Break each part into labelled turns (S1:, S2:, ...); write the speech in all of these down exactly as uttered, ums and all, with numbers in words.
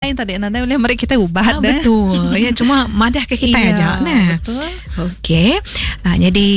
S1: Tadi nadai ulih meri kita ubat
S2: Ah,
S1: deh.
S2: Betul. Ya, cuma madah ke kita
S1: Iya,
S2: aja nah.
S1: betul.
S2: Okey. Uh, jadi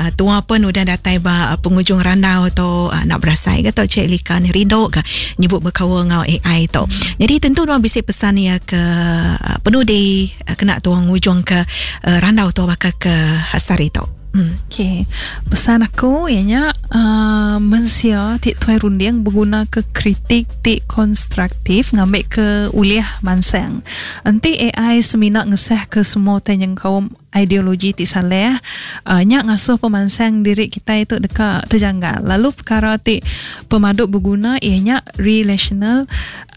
S2: uh, tua pun udah datai ba uh, penghujung randau tu uh, nak berasai ke tau Cik Lika ni rindu ke nyebut berkaul ngau A I tu. Jadi tentu nuan bisi pesan ya ke uh, penudi uh, kena tuang ujung ke uh, randau tu bakal ke hasari tu. Hmm.
S1: Okey. Pesan aku ianya uh, mensia ti tuai runding berguna ke kritik ti konstruktif ngambil ke uliah mansang. Enti A I semina ngesah ke semua utai nyengkaum ideologi ti salah, uh, nyak ngasuh pemansang diri kita itu dekat terjanggal. Lalu perkara ti pemaduk berguna ianya relational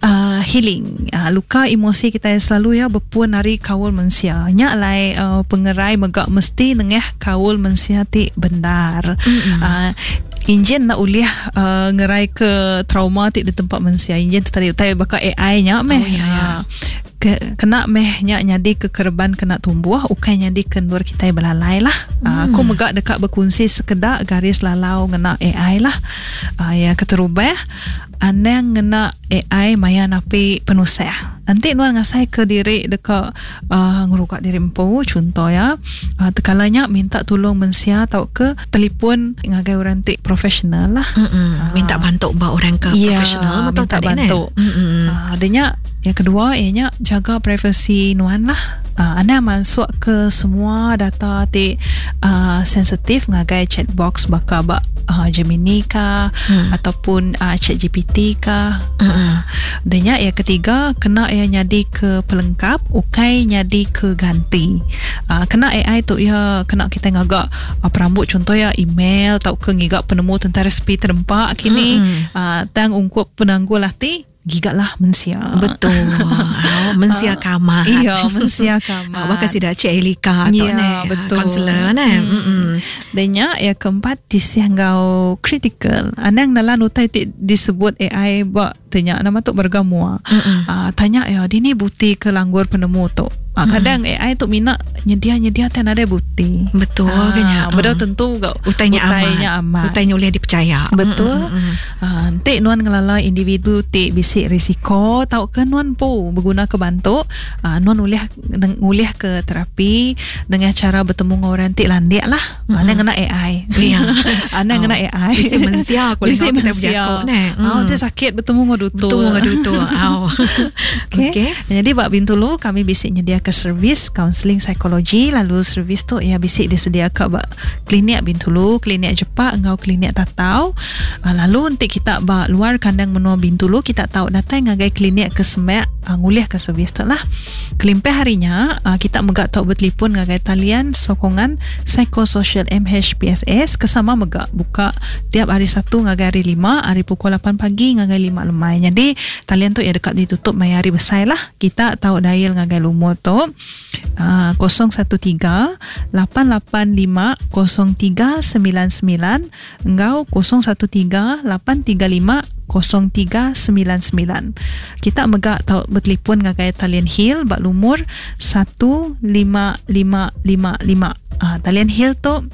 S1: uh, healing. Uh, luka emosi kita selalu ya berpuan dari kaul mensia. Nyak lai uh, pengerai megak mesti nengah kaul mensia ti benar. Mm-hmm. Uh, Injin nak uliah uh, ngerai ke trauma ti di tempat mensia. Injin tu tadi utai bakal A I nya meh.
S2: Oh, ya, ya.
S1: Uh, ke, kena meh nya nyadi ke kerban kena tumbuh ukai nyadi kendur kita belalai lah. Hmm. Uh, aku megak dekat berkongsi sekedak garis lalau ngena A I lah. Uh, ya keterubah anang ngena A I maya napi penusah. Nanti nuan ngasai ke diri dekat uh, ngerugak diri empu contoh ya. Uh, tekalanya minta tolong mensia atau ke telefon ngagai orang ti profesional lah.
S2: Mm-mm. Minta bantu ba orang ke
S1: Ya,
S2: profesional betul
S1: minta
S2: tadi
S1: bantu.
S2: Ne?
S1: Uh, adanya yang kedua ianya jaga privasi nuan lah. Uh, anda masuk ke semua data ti uh, sensitif ngagai chat box baka ba uh, Gemini ka hmm. ataupun uh, Chat G P T ka. Hmm. Uh, dan yang ketiga kena ia nyadi ke pelengkap ukai nyadi ke ganti. Uh, kena A I tu ya kena kita ngagak uh, perambut contoh ya email atau ke ngigak penemu tentang resipi terempak kini hmm. uh, tang ungkup penanggul hati gigaklah mensia.
S2: Betul. Oh, mensia kamar.
S1: Iya, mensia kamar.
S2: Bahkan sida Cik Elika tu
S1: Ya,
S2: ne.
S1: Betul.
S2: Konselor ne. Hmm.
S1: Dan nya yang keempat tisih ngau critical. Anang dalam utai ti disebut A I ba tanya nama tu bergamua. Uh, tanya ya, dia ni bukti ke langgur penemu tu. Uh, kadang A I tu mina nyedia-nyedia tan ada bukti.
S2: Betul
S1: Ah,
S2: kan ya.
S1: betul tentu gak
S2: Utainya amat.
S1: Utainya amat.
S2: Utainya boleh dipercaya.
S1: Betul.
S2: Mm-mm.
S1: Uh, Nanti nuan ngelala individu ti bisi risiko tau ke nuan pu berguna ke bantu uh, nuan ulih ngulih ke terapi dengan cara bertemu dengan orang ti landik lah. Mm-hmm. Ana ngena A I.
S2: Ya.
S1: Ana ngena
S2: Oh.
S1: A I.
S2: Bisi mensia aku
S1: Bisi
S2: lengok kita
S1: mensia.
S2: berjakok ne.
S1: Oh, dia sakit bertemu dengan dutu.
S2: Betul dengan dutu. Au.
S1: Okay.
S2: Okey.
S1: Jadi bak Bintulu kami bisik nyediakan servis kaunseling psikologi, lalu servis tu ya bisik disediakan bak klinik Bintulu, klinik Jepak engau klinik Tatau. Uh, lalu untuk kita bak luar kandang menua Bintulu kita tahu datang ngagai klinik ke Semek uh, ngulih ke servis tu lah. Kelimpah harinya uh, kita megak tahu bertelefon ngagai talian sokongan psikososial M H P S S kesama megak buka tiap hari Satu ngagai hari Lima hari pukul lapan pagi ngagai lima lemai. Jadi talian tu ya dekat ditutup maya hari besar lah. Kita tahu dial ngagai lumur tu uh, kosong satu tiga lapan lapan lima kosong tiga sembilan sembilan engau kosong satu tiga lapan tiga lima kosong tiga sembilan sembilan. Kita megak tahu bertelefon ngagai talian Heal bak lumur satu lima lima lima lima. Ah, talian Heal tu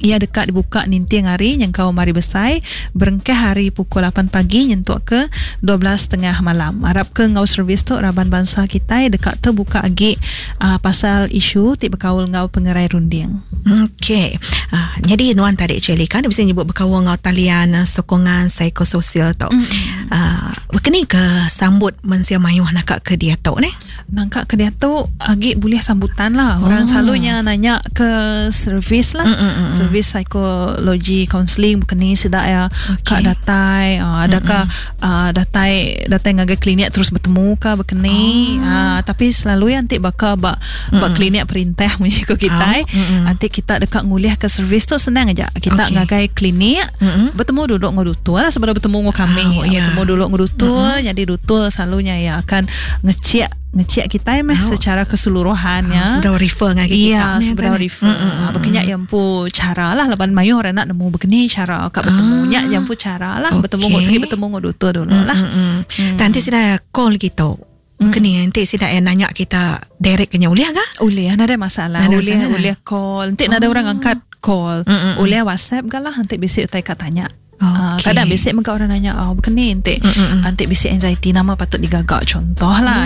S1: ia dekat dibuka ninting hari yang kau mari besai berengkah hari pukul lapan pagi nyentuk ke dua belas tiga puluh malam. Harap ke ngau servis tu raban bangsa kita dekat terbuka agi uh, pasal isu ti berkaul ngau pengerai runding.
S2: Okey. Uh, jadi nuan tadi Cik Lika bisa nyebut berkaul ngau talian uh, sokongan psikososial tu. Mm. Uh, berkeni ke sambut mensia mayuh nak ke dia tu ni?
S1: Nangkak ke dia tu agi boleh sambutan lah. Orang
S2: Oh.
S1: selalunya nanya ke servis lah.
S2: Mm, mm, mm, mm.
S1: Servis psikologi counselling berkeni sedak ya
S2: Okey.
S1: kak datai uh, adakah uh, datai datai ngagai klinik terus bertemu ke berkeni
S2: Oh.
S1: uh, tapi selalu yang nanti bakal bak bak klinik perintah mengikut kita
S2: Oh, mm-mm.
S1: nanti kita dekat nguliah ke servis tu senang aja kita
S2: Okey.
S1: ngagai klinik
S2: Mm-mm.
S1: bertemu duduk dengan dutu lah sebelum bertemu dengan kami.
S2: Oh, ya.
S1: Bertemu dulu dengan dutu, jadi dutu selalunya ya akan ngecek ngecek kita meh
S2: Oh.
S1: secara keseluruhannya.
S2: Ah, sudah refer ngagai kita
S1: Iya,
S2: ni,
S1: sudah
S2: tadi.
S1: refer.
S2: Mm, mm, mm,
S1: Berkenyak yang pu cara lah laban mayu orang nak nemu berkeni cara kak bertemu nyak yang pu cara lah bertemu
S2: Okey.
S1: ngok segi bertemu ngok dutu dulu lah.
S2: Mm, mm. Hmm. Nanti sudah call gitu. Mm. Kini nanti sudah nanya kita direct kena boleh ke?
S1: Boleh, ada masalah.
S2: Nada
S1: Boleh,
S2: masalah.
S1: boleh call. Nanti oh. ada orang angkat call.
S2: Mm, mm, mm.
S1: Boleh WhatsApp ke lah nanti bisik utai kat tanya. Ah,
S2: Okey.
S1: kadang bisik mengkau orang nanya, oh, berkeni nanti
S2: Mm, mm, mm.
S1: nanti bisik anxiety nama patut digagak contoh lah.